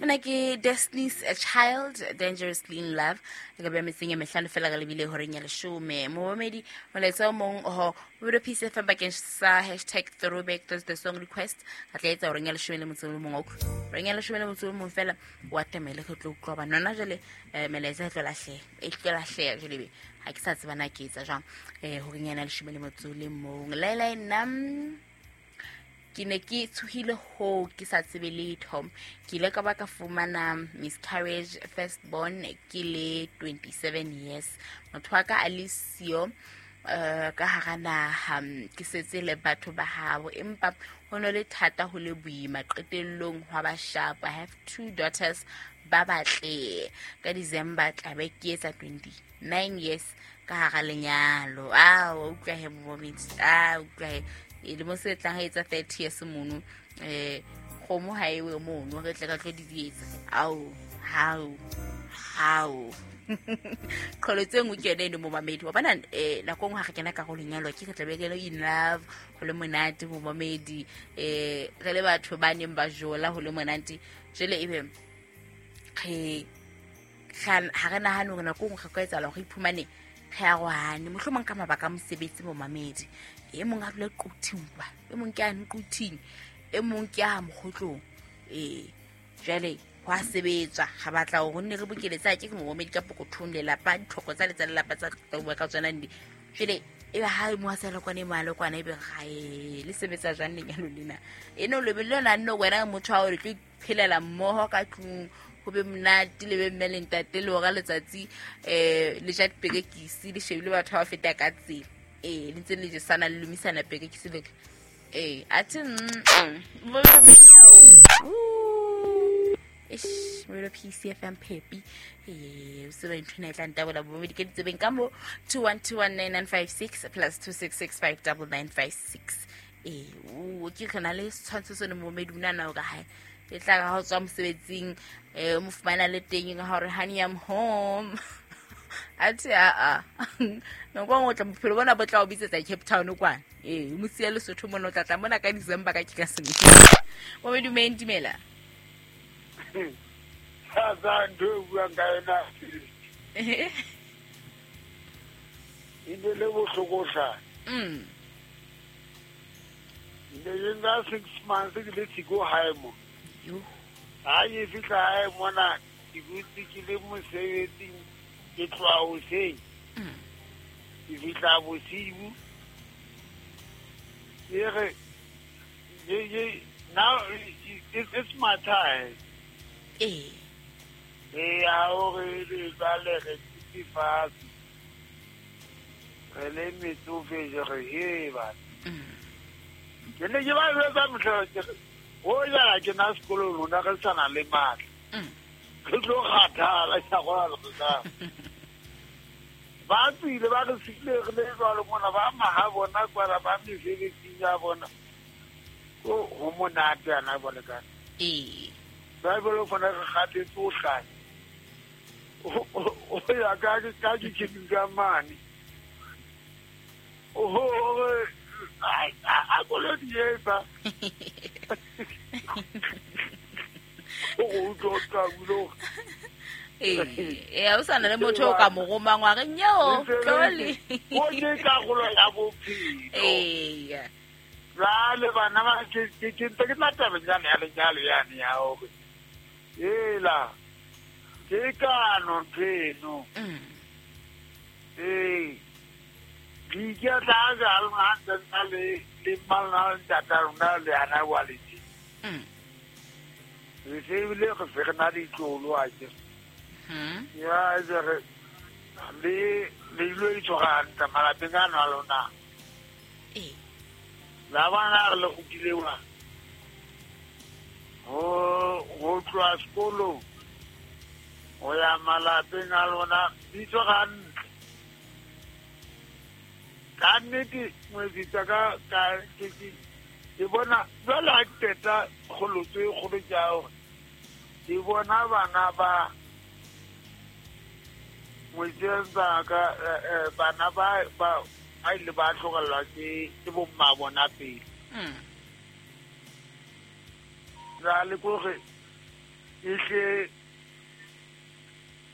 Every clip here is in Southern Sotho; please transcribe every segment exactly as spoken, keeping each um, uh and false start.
Mona ke Destiny's Child, Dangerously in Love. Re ka beha metseng e mehlano fela re lebile horeng ya leshome. Momamedi, molaetsa o mong ho Bodo Peace F M bakeng sa hashtag throwback Thursday song request. Re tla etsa horeng ya leshome le motso o mong. Horeng ya leshome le motso o mong fela wa atamele re tlo utlwa hobane hona jwale, eh, melaetsa e tlo lahleha. E tlo lahleha jwale be. Ha ke sa tseba na ke etsa jwang. Eh, horeng ya leshome le motso o le mong. Laela nna ke ne ke tshohile ho ke sa tsebe letho. Ke ile ka ba ka fumana miscarriage first born ke le twenty-seven years. Motho wa ka a le siyo, eh, ka hara naha, ke setse le batho ba habo, empa ho no le thata ho le boima. Qetellong hwa ba sharp. I have two daughters ba batle. Ka December tla be ke etsa twenty-nine years ka hara lenyalo. Ah, wa utlwa he mommy. Ah, utlwa he. E le mo se tlang ha etsa thirty years mono. Eh, kgomo ha e we mono, re tle ka tlo di etsa. Ao, hao, hao. Qholotso e nngwe ke yona eno momamedi. Wa bona, eh, nako e nngwe ha re kena karolong ya lenyalo, ke re tla be ke le in love, ho le monate momamedi. Eh, re le batho ba neng ba jola ho le monate. Jwale ebe re ha re nahane hore nako e nngwe re ka etsahala hore re iphumane re arohane, mohlomong ka mabaka a mosebetsi momamedi. E mong a dula Quthing kwa, e mong ke a Quthing, e mong ke a Mokgotlong. Eh, jwale ho a sebetswa, ga batla hore nne re bokeletsa ke momamedi ka pokothong lelapa, ditlhoko tsa letsa lelapa tsa tla bua ka tsona ndi. Jwale e ba ha mo a sa le kwana, e mo a le kwana, ebe ga e le sebetsa jwang lenyalo lena? E no le lona nno wena motho wa hore le tlo iphelela mmoho ka tlung, ho be monate le be mme le ntate le hora letsatsi, eh, le ja diperekisi, le shebile batho ba feta ka tsela. Eh, le ntse le jesana, le lomisana perekisi le. Eh, athe, mm, mm. Eish, Molo P C F M Pepi. Eh, o se ba ntho ena e tla ntabola bomedi ke ditsebeng ka mo two one two one nine nine five six plus two six six five double nine five six. Eh, o ke re na le setshwantsho seno momedi o nahana hore hae e tla ka ha o tswa mosebetsing, eh, o mo fumana le teng ka hore honey I'm home. Athe a a. Nako e nngwe o tla bophelo bona bo tla o bitsetsa Cape Town kwana. Eh, o mo siya Lesotho mona, o tla tla mona ka December ka Keresemese. Momedi o meng dumela. Ha sa ntho e buang ka yona. E ne le bohloko hle. Mm. Ne ke nka six months ke le siko hae mo. Yo. Ha ke fihla hae mona, ke dutse ke le mosebetsing, ke tloha hoseng. Mm. Ke fihla bosiu. Ke re, ke, ke, now it, it's my time. Eh. Eh, ha o re le jwale re dutse fatshe. Re le metsofe, je re, he, bana. Mm. Ke ne ke ba jwetsa mohlala ke re, ho jala ke na sekolong lona re sa na le matla. Mm. Re tlo kgathala, ke a kgona le re Ba tswile, ba re siile re le jwalo mona, ba maha bona kwala, ba mesebetsing ya bona. Ko ho monate ana bone ka. Eh. Ba bolo fana re kgathetse ho hlanya. O, o, o ya ka ke, ka ke ke ka mane. Oho, hore, ai, a, a kolo di etsa. O utlwa o tla bulo. Eh, eh, ha o sa na le motho o ka mo romang wa re, nyeo, tlole. O ke karolo ya bophelo. Eh. Jwale bana ba ke, ke, ke ntse ke tla tabeng yane ya lenyalo yane ya hore, hela, ke kano ntho eno. Mm. Eh. Di ke tla ja lona ntse nna le, le mmalona le ntata lona le ana wa le tje. Mm. Re se ebile re se re na ditlolo a ke. Hmm. Ya, e re, le, le ilo itshwara hantle malapeng ano a lona. Eh. La bona re le kgutlile wa. Ho, ho tloha sekolong, ho ya malapeng a lona, di tshwara hantle. Ka nnete, ngwetsi tsa ka, ka, ke, ke, ke bona, jwale ha ke qeta kgolotso e kgolo ke ya hore, ke bona bana ba ngwetsi tsa ka, eh, eh, bana ba, ba, ba ile ba tlogelwa ke, ke bomma bona pele. Mm. Jwale ke hore Ehle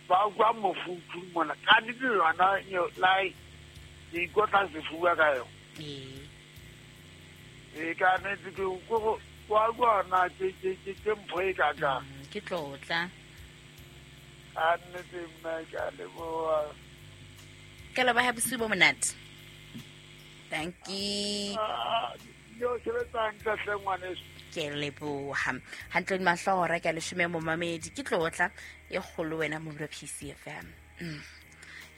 ba utlwa mofuthu mona ka nnete yona lai ke ikotla sefuba ka yona. Ee. E ka nnete ke ko wa bona ke ke ke ke mpho e ka ka. Ke tlotla. A nnete mme ke a leboha. Ke leboha bosiu bo monate. Thank you. Yo sebetsa hantle hle ngwaneso. Ke leboha. Hantle di mahlo hora ke a leshome momamedi. Ke tlotla e kgolo wena mo P C F M.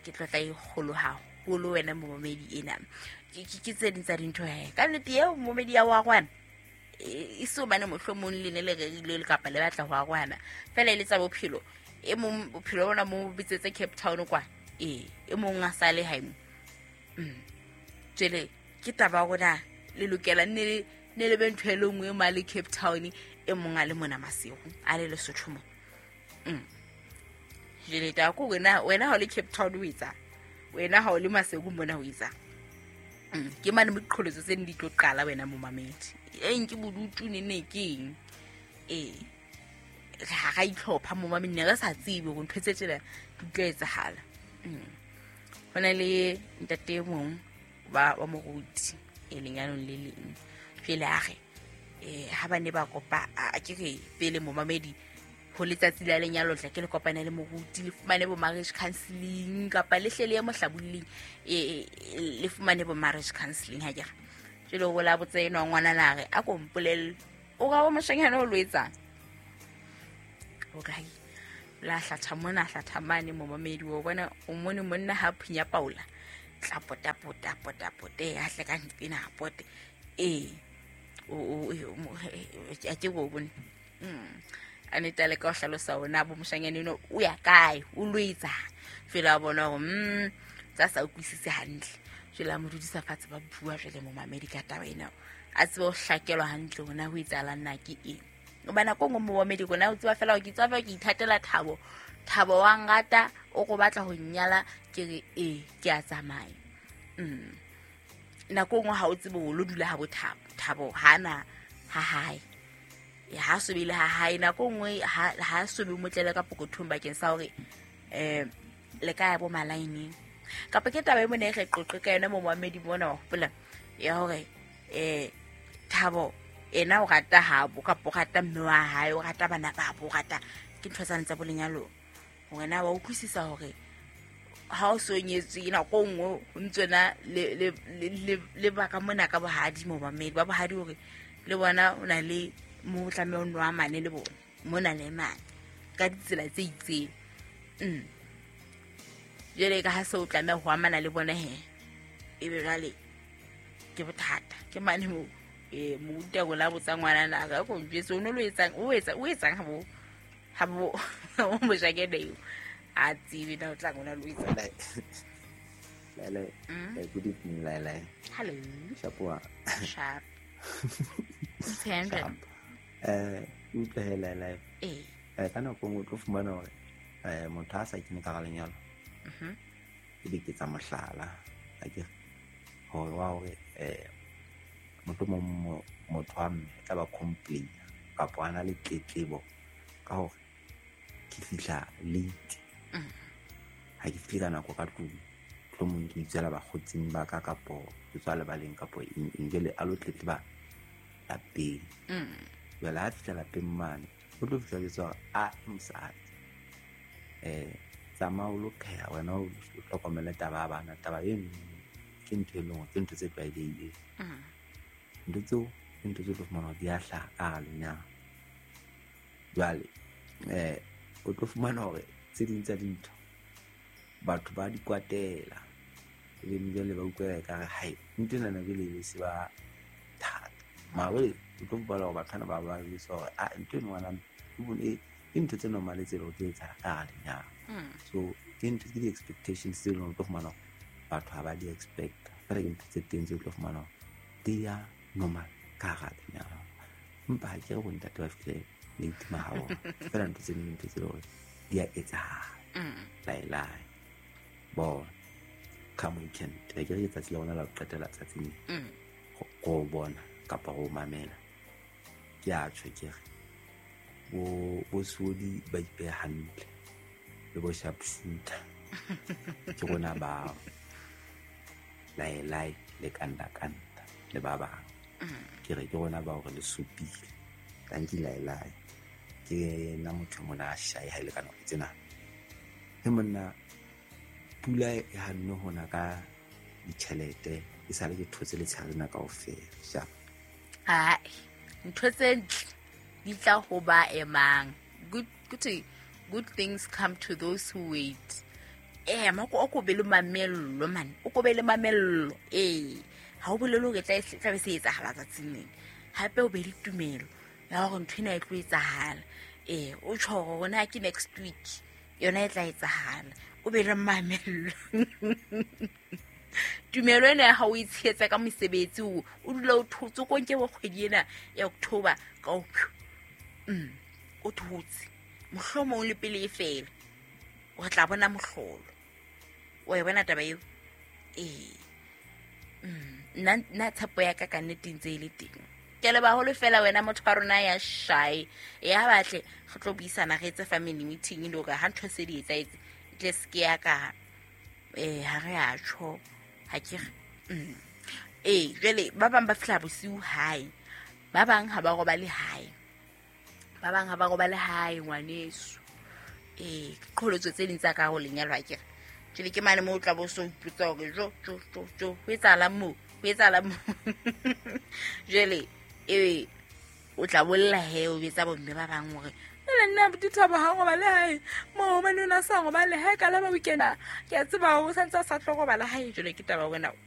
Ke tlotla e kgolo haholo wena momamedi ena. Ke ke tse ding tsa dintho he. Ka nnete eo momamedi ya wa rwana. E so bane mohlomong le ne le rerile le kapa le batla ho arwana. Fela e le tsa bophelo. E mong bophelo bona mo bitsetse Cape Town kwa. E e mong a sale hae mo. Mm. Jele ke taba rona le lokela ne ne le be ntho e le nngwe ma le Cape Town e mong a le mona Maseru a le Lesotho mo. Mm. Jele ta ko wena wena ha o le Cape Town o etsa. Wena ha o le Maseru mona o etsa. Mm. Ke mane moqholotso tse di tlo qala wena momamedi. E nke bodutu ne ne keng. E ha ga itlhopha momamedi ne re sa tsebe hore ntho tse tsela di tlo etsahala. Mm. Hona le ntate mong ba wa moruti e lenyalong le leng. Pele a re eh ha ba ne ba kopa a ke re pele momamedi ho letsatsi la lenyalo tla ke le kopana le moruti le fumane bo marriage counseling kapa le hle le ye mohlabulling e le fumane bo marriage counseling ha ke re. Jele o la botsa eno ngwana la re a ko mpolelle o ga o moshanyana o lo etsang. O kae la hlatha mona hlatha mane momamedi o bona o mone monna ha phunya paula tla pota pota pota pote ha hle ka ntpena pote e o o a ke go bone. Mm. Anita le ka hlalosa ona bo moshanyana eno o ya kae o lo etsa fela bona hore mm tsa sa utlwisise hantle. Jela mo dudisa fatshe ba bua jele momamedi ka taba ena a tsebe ho hlakelwa hantle hona ho etsahala nna ke eng. O bana ko ngwe momamedi rona o tseba fela ke tswa ke ithatela thabo thabo wa ngata o go batla ho nyala ke re e ke a tsamaya. Mm. Nako nngwe ha o tsebe o lo dula ha bothabo thabo hana ha hae. Ya ha sobile ha hae nako nngwe ha ha sobe motlele ka pokothong bakeng sa hore eh le ka ya bo malaineng. Kapa ke taba e mone re qoqe ka yona momamedi mona wa hopola ya hore eh thabo ena o rata habo kapa o rata mme wa hae o rata bana ba bo rata ke ntho tsa ntsa bolenyalo. Wena wa utlwisisa hore ha o so nyetswe nako nngwe o ntsona le le le le baka mona ka bohadi momamedi ba bohadi hore le bona o na le mo tlameha o nwa mane le bona mona le mane ka ditsela tse itseng. Mm. Jele ka ha se o tlameha ho amana le bona he e be jwale ke bothata ke mane mo e moruta go la botsa ngwana na ka go njwetse o no lo etsang o etsa o etsang ha bo ha bo o mo jakene eo a tsebe na o tla ngwana lo etsa. Lele good evening Lele. Hello. Shapoa. Sharp. Sharp. Eh utlwe he Lele. Eh. Eh ka nako nngwe o tlo fumana hore eh motho a sa kene ka lenyalo. Mhm. Ebe ke tsa mohlala a ke hore wa hore eh motho mo motho wa mme tla ba complain kapa ana le tletlebo ka hore ke fihla late. Ha ke fihla nako ka tlung tlomong ke itsela bakgotsing ba ka kapo ke tswa lebaleng kapo eng eng jwale a lo tletleba lapeng. Jwale ha fihla lapeng mane o tlo fihla jwetsa hore a mosadi eh tsamaya o lo pheha wena o hlokomele taba ya bana taba eno ke ntho e leng hore ke ntho tse tlwaelehileng. Ntho tseo ke ntho tse tlo fumana hore di a hlaha ka hara lenyalo. Jwale eh o tlo fumana hore tse ding tsa dintho batho ba di kwatela ebe jwale ba utlwela ekare hai ntho enana jwale e se ba thata. Mara jwale o tlo fumana hore batho bana ba ba jwetsa hore ah ntho eno ngwana e ke ntho tse normal tse leng hore di etsahala ka hara lenyalo. So ke ntho ke di-expectations tse leng hore o tlo fumana hore batho ha ba di expect fela ke ntho tse teng tse o tlo fumana hore di ya normal ka hara lenyalo. Empa ha ke re bontate ba fihle late mahabona fela ntho tse ding ntho tse leng hore di a etsahala. Laelae bona come weekend ke re letsatsi la rona la ho qetela tsatsing go bona kapa go mamela ke a tjho ke re Bo bo Sodi ba ipeha hantle le bo sharpshooter ke rona bao laelai le kanda kanda le ba bang. Ke re ke rona bao re le supile. Tanki laelai ke nna motho mona a shae ha ile ka nako tsena. He monna, pula e hanne hona ka ditjhelete e sale ke thotse letshehare lena kaofela. Sharp. Hai, ntho tse ntle di tla ho ba emang. Good good good things come to those who wait. Eh, mako o ko be le mamello man, o ko be le mamello. Eh, ha o bolele hore tla tla be se etsahala tsatsing lena. Hape o be le tumelo ya hore ntho ena e tlo etsahala. Eh, o tjho hore na ke next week yona e tla etsahala. O be le mamello. Tumelo ena ya hao o e tshehetsa ka mosebetsi, o o dula o thotse, o ko nke bo kgwedi ena ya October ka o mm o thotse, mohlomong le pele e fela o tla bona mohlolo. Wa e bona taba eo? Ee. Nna nna tshepo ya ka ka nnete ntse e le teng. Ke a leboha haholo fela wena motho wa rona ya shy ya batle re tlo buisana, re etse family meeting le hore ha ntho se di etsahetse e tle se ke ya ka eh ha re a tjho ha ke re mm. Ee, jwale ba bang ba fihla bosiu hae, ba bang ha ba robale hae, ba bang ha ba robale hae ngwaneso. Ee, ke qholotso tse ding tsa ka ho lenyalo ha ke re jwale ke mane moo o tla bo so ipotsa hore jo jo jo jo ho etsahalang moo, ho etsahalang moo. Jwale ebe o tla bolla he, o betsa bomme ba bang hore jwale nna Dithabo ha robale hae moo, hobane o na sa robale hae ka laba weekend, ke a tseba hore o santse a sa tlo robala hae. Jwale ke taba wena.